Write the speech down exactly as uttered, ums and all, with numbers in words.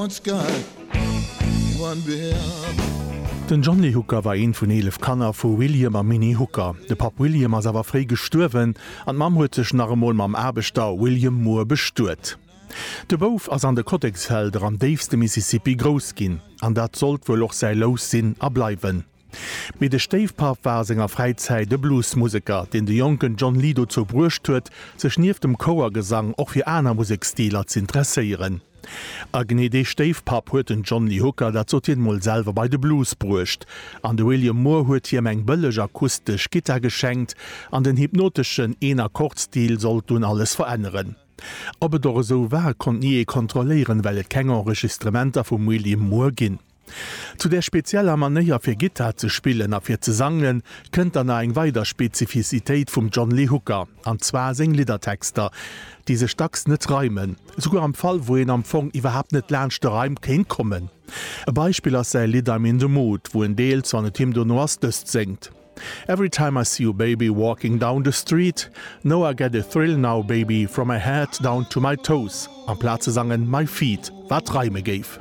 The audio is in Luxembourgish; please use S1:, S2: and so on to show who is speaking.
S1: One sky, one bill.
S2: Den John Lee Hooker war eent vun eelef Kanner vu William a Minnie Hooker. De Papp William ass awer fréi gestuerwen an d'Mamm huet sech nach emol mam Aarbechter William Moore bestuet. De Bouf ass an de Kotteksfelder am déifste Mississippi grouss ginn, an dat sollt wuel och säi Lous sinn a bleiwen. Mee de Stéifpapp war a senger Fräizäit e Bluesmuseker, deen de jonken John Lee dozou bruecht huet, sech nieft dem Chouergesang och fir aner Museksstiler z'interesséieren. A genee dee Stéifpapp huet den John Lee Hooker, dat sot hien emol selwer, bei de Blues bruecht. An de William Moore huet hiem eng bëlleg akustesch Gittar geschenkt, an den hypnoteschen Een-Akkord-Stil sollt dunn alles veränneren. Ob et och esou war, konnt ni ee kontrolléieren, well et keng Enregistrementer vum William Moore ginn. Zu där spezieller Manéier fir Gittar ze spillen a fir ze sangen, kënnt dann nach eng weider Spezifizitéit vum John Lee Hooker, an zwar seng Liddertexter, déi sech dacks net reimen, esouguer am Fall wou een am Fong iwwerhaapt net laanscht de Reim kéint kommen. E Beispill ass säi Lidd I'm in the Mood, wou en deels, wann et him dono ass, dëst séngt, Every time I see you baby walking down the street, know I get a thrill now baby from my head down to my toes, amplaz ze sangen my feet, wat reime géif.